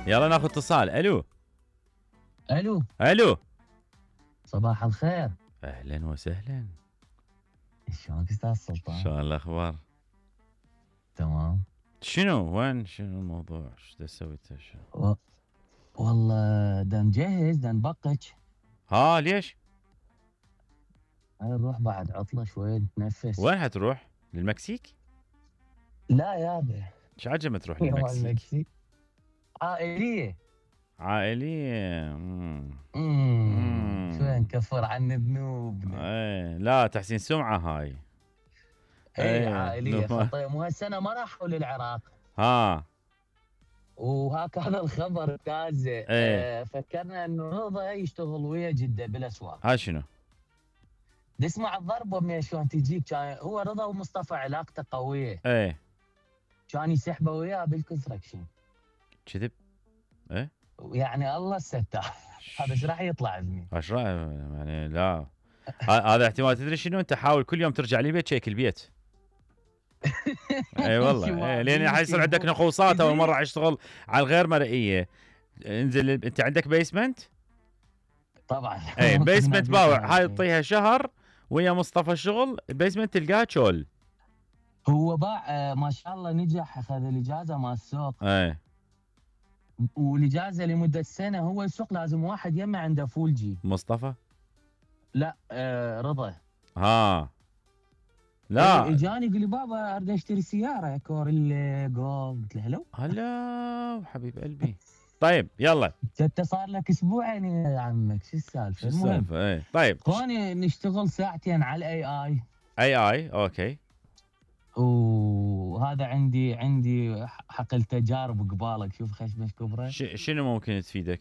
يلا ناخذ اتصال. الو الو الو، صباح الخير. اهلا وسهلا. شلونك استاذ سلطان؟ شلون الاخبار؟ تمام. شنو وين شنو الموضوع؟ ايش تسوي انت؟ والله دا نجهز دا نبقج. ها ليش؟ هاي نروح بعد عطلة شوي نتنفس. وين حتروح؟ للمكسيك؟ لا يابا. ايش عجمة تروح يوم للمكسيك؟ المكسيك عائلية. عائلية. شوي نكفر عن ذنوبنا. ايه لا تحسين سمعة هاي. ايه عائلية خطية. مو هالسنة ما راحوا للعراق. ها وهكذا الخبر تازه. ايه. فكرنا انه رضا يشتغل ويا جدة بالاسواق. ها شنو؟ تسمع الضربة من شلون تجيك. كان هو رضا ومصطفى علاقته قوية. ايه كان يسحبه وياه بالكونستراكشن. كذب؟ ايه يعني الله الستار. هذا ايش راح يطلع ابني؟ ايش رايك يعني؟ لا هذا احتمال. تدري شنو؟ انت حاول كل يوم ترجع لي بيت شيك البيت. اي والله ايه، لين حيصير عندك نقوصات. اول مره اشتغل على الغير مرئيه. انزل انت عندك بيسمنت؟ طبعا. اي بيسمنت باوع. هاي تطيها شهر ويا مصطفى الشغل البيسمنت تلقاه تشول. هو باع ما شاء الله نجح. اخذ الاجازه مال السوق. اي والاجازه لمده سنه. هو السوق لازم واحد يمه عنده فول جي. مصطفى؟ لا رضا. ها لا اجاني يقول لي بابا اريد اشتري سياره كوريلا جولد. قلت له هلو هلا حبيب قلبي. طيب يلا. انت صار لك اسبوعين يا عمك. شو السالفه؟ المهم ايه طيب اخواني نشتغل ساعتين على الاي اي اوكي. وهذا عندي حقل تجارب قبالك. شوف خشمش كبره. شنو ممكن تفيدك؟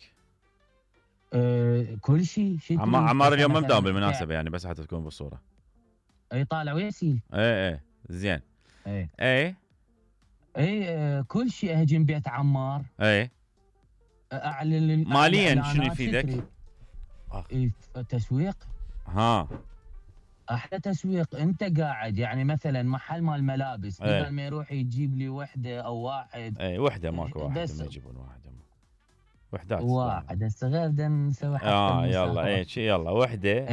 كل شيء. عمار اليوم ما مداوم بالمناسبه يعني، بس حتى تكون بالصوره. اي طالع ويسيل. ايه زين. اي كل شيء. اهجم بيت عمار. اعلن ماليا شنو يفيدك؟ تسويق. ها احلى تسويق. انت قاعد يعني مثلا محل مال ملابس بدل ما يروح يجيب لي وحده او واحد. وحده ماكو واحد ما يجيبون واحده. وحدات واحد هسه غير بدنا نسوي حتى يلا يلا وحده.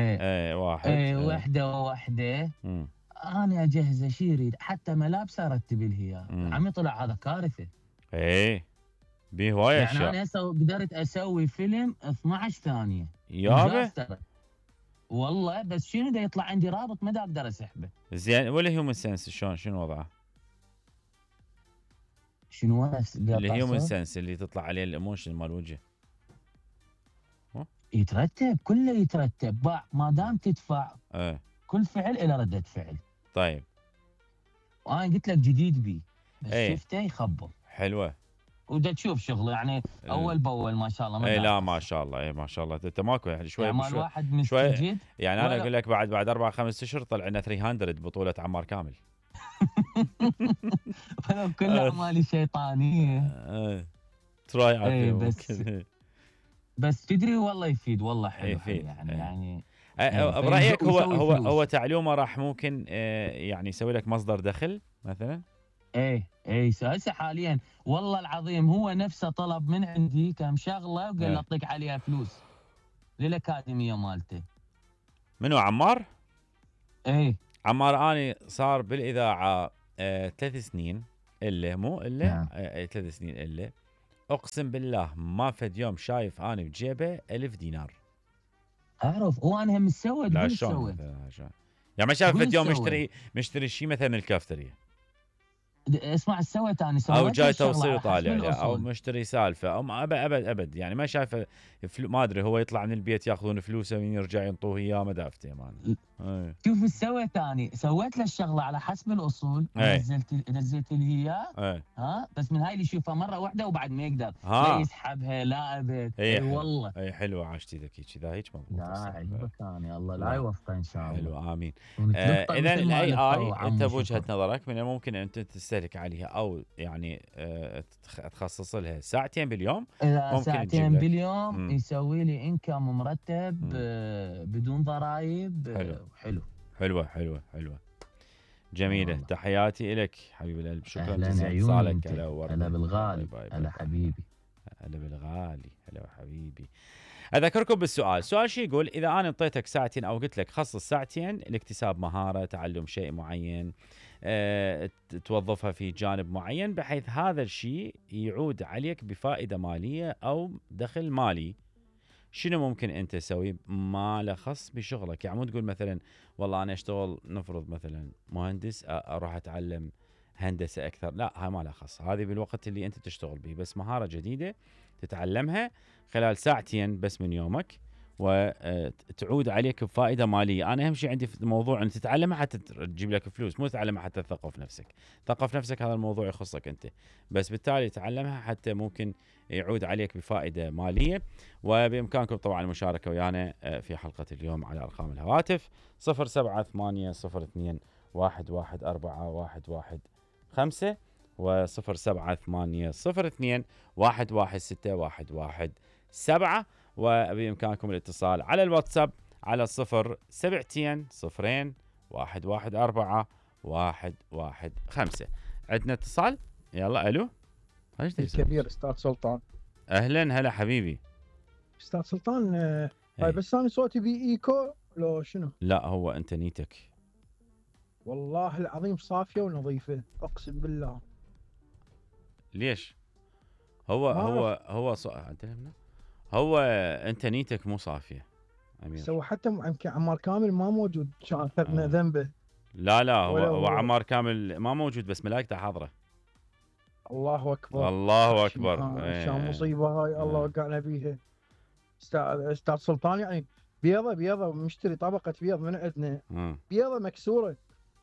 واحد. وحده. انا اجهز اشي يريد حتى ملابس ارتب لها. عمي طلع هذا كارثه. بيه هوايه يعني اشياء. انا هسه قدرت اسوي فيلم 12 ثانيه يابا والله. بس شنو دا يطلع عندي رابط ما دا اقدر اسحبه. زين والهيومن سنس شنو وضعه؟ شنو الهيومن سنس اللي تطلع عليه الايموشن مال الوجه؟ يترتب كله يترتب. باع ما دام تدفع. كل فعل له رده فعل. طيب وانا قلت لك جديد بي بس شفته يخبل. حلوه. ودا تشوف شغله يعني اول باول ما شاء الله. لا ما شاء الله. ما شاء الله. انت ماكو يعني شوي يعني مال واحد مستجد. يعني انا اقول لك بعد 4-5 اشهر طلع لنا 300 بطوله عمار كامل. كل اعمالي شيطانيه. تراي على بس تدري والله يفيد. والله حلو يعني برايك هو تعلومه راح ممكن يعني يسوي لك مصدر دخل مثلا؟ هسه حاليا والله العظيم هو نفسه طلب من عندي كم شغله وقال لي اعطيك عليها فلوس للاكاديميه مالته. منو عمار؟ عمار اني صار بالاذاعه 3 سنين الا مو الا 3 سنين الا. اقسم بالله ما فد يوم شايف اني بجيبه 1000 دينار. اعرف وانا هم مسود. لا شلون يعني ما شايف فد يوم مشتري شيء مثلا من الكافتريا. اسمع سويت انا او جاي توصيل وطالع او مشتري سالفه او ابد يعني ما شايفه. ما ادري هو يطلع من البيت ياخذون فلوسه ويرجع ينطوه اياه ما دافته مان. شوف ايش سويت اني. سويت له الشغله على حسب الاصول. نزلت لي اياه. بس من هاي اللي يشوفها مره واحده وبعد ما يقدر لا يسحبها لا ابد. والله حلوه عاشتي ذكي كذا هيك مضبوط. لا عجبك اني الله لا يوفقه ان شاء الله. حلو امين. اذا الاي انت بوجهه نظرك من الممكن ان تستهلك عليها او يعني تخصص لها ساعتين باليوم. ممكن ساعتين باليوم يسوي لي انكم مرتب بدون ضرائب. حلوه جميلة. تحياتي لك حبيب القلب. شكرا جزيلا اتصالك. هلا بالغالي. هلا حبيبي. هلا بالغالي، هلا حبيبي. اذكركم بالسؤال، السؤال شو يقول؟ اذا انا انطيتك ساعتين او قلت لك خصص ساعتين لاكتساب مهاره، تعلم شيء معين، توظفها في جانب معين بحيث هذا الشيء يعود عليك بفائده ماليه او دخل مالي، شنو ممكن انت تسوي ما له خص بشغلك؟ يعني مو تقول مثلا والله انا اشتغل نفرض مثلا مهندس اروح اتعلم هندسه اكثر، لا هاي ما لها خص، هذه بالوقت اللي انت تشتغل به، بس مهاره جديده تتعلمها خلال ساعتين بس من يومك وتعود عليك بفائده ماليه. انا اهم شيء عندي في الموضوع ان تتعلمها حتى تجيب لك فلوس، مو تتعلمها حتى تثقف نفسك. ثقف نفسك هذا الموضوع يخصك انت، بس بالتالي تعلمها حتى ممكن يعود عليك بفائده ماليه. وبامكانكم طبعا المشاركه ويانا في حلقه اليوم على ارقام الهواتف 07802 114 115 و07802 116 وبإمكانكم الاتصال على الواتساب على 072 0 114 115. عندنا اتصال، يلا الو. الكبير استاذ سلطان. اهلا هلا حبيبي استاذ سلطان. هاي بس انا صوتي بي ايكو لو شنو؟ لا هو انت نيتك والله العظيم صافيه ونظيفه اقسم بالله. ليش؟ هو هو انت نيتك مو صافيه امير. سوى حتى يمكن عمار كامل ما موجود، كان اخذنا ذنبه. لا هو عمار كامل ما موجود بس ملائكته حاضره. الله اكبر الله اكبر. شو مصيبه هاي الله وقعنا بيها. استاذ سلطان يعني بيضه مشتري طبقه بيض من عندنا، بيضه مكسوره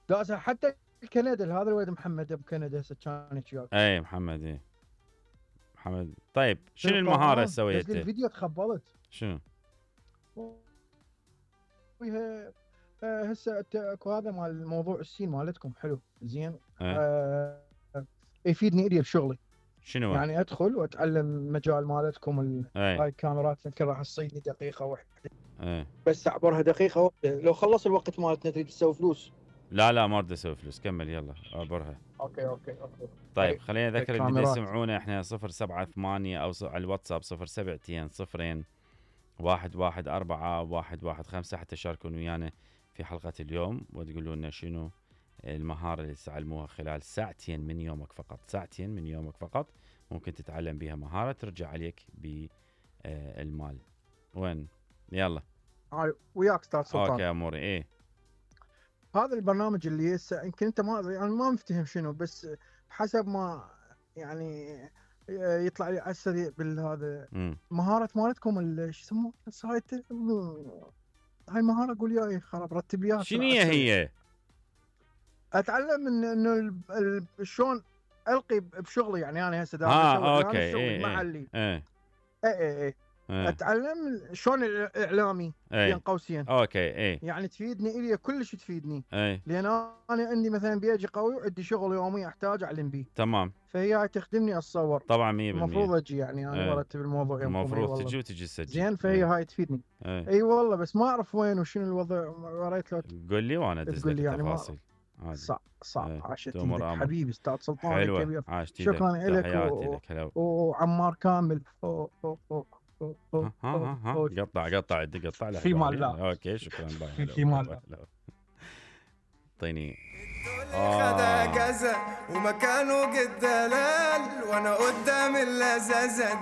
داسها حتى الكندا. هذا الولد محمد ابو كندا هسه كان وياك. اي محمد محمد. طيب شنو المهاره سويتها؟ الفيديو تخبلت شنو؟ وياها هسه اكو هذا مال الموضوع السين مالتكم حلو زين. يفيدني الي بشغلي. شنو يعني ادخل واتعلم مجال مالتكم. هاي الكاميرات يمكن راح تصيدني دقيقه واحده. بس اعبرها دقيقه واحده، لو خلص الوقت مالتنا تريد تسوي فلوس. لا ما اريد اسوي فلوس، كمل يلا اعبرها. اوكي. طيب خلينا نذكر اللي بده يسمعونا احنا 078 او على الواتساب 072 0 114 115 حتى تشاركون ويانا في حلقه اليوم وتقولوا لنا شنو المهاره اللي تتعلموها خلال ساعتين من يومك فقط. ساعتين من يومك فقط ممكن تتعلم بها مهاره ترجع عليك بالمال. وين يلا وياك استاذ سلطان. اوكي اموري. ايه هذا البرنامج اللي هسه يمكن انت ما مفتهم شنو، بس حسب ما يعني يطلع لي على السريع بالهذا مهاره مالتكم شو يسموه السايت. هاي المهاره قول ياي خرب رتب لي شنو هي؟ اتعلم انه شلون القي بشغلي. يعني انا هسه اوكي. شغلي محلي. اي اتعلم شلون الاعلامي بين قوسين. اوكي. يعني تفيدني الي كلش تفيدني. لان انا عندي مثلا بيجي قوي وعندي شغل يومي احتاج اعلم به. تمام. فهي تخدمني اتصور. طبعا 100% المفروض اجي يعني انا برتب الموضوع يوم المفروض تجي وتجي تسجل. زين فهي هاي تفيدني. اي والله بس ما اعرف وين وشنو الوضع. وريت له قول لي وانا ادز لك التفاصيل. صعب. عاشت حبيبي استاذ سلطان الكبير. شكرا لك وعمار كامل. قطع في مال. لا اوكي شكرا. في مال. اعطيني خدا كذا ومكانه قد دلال وانا قدام اللذاذه دي.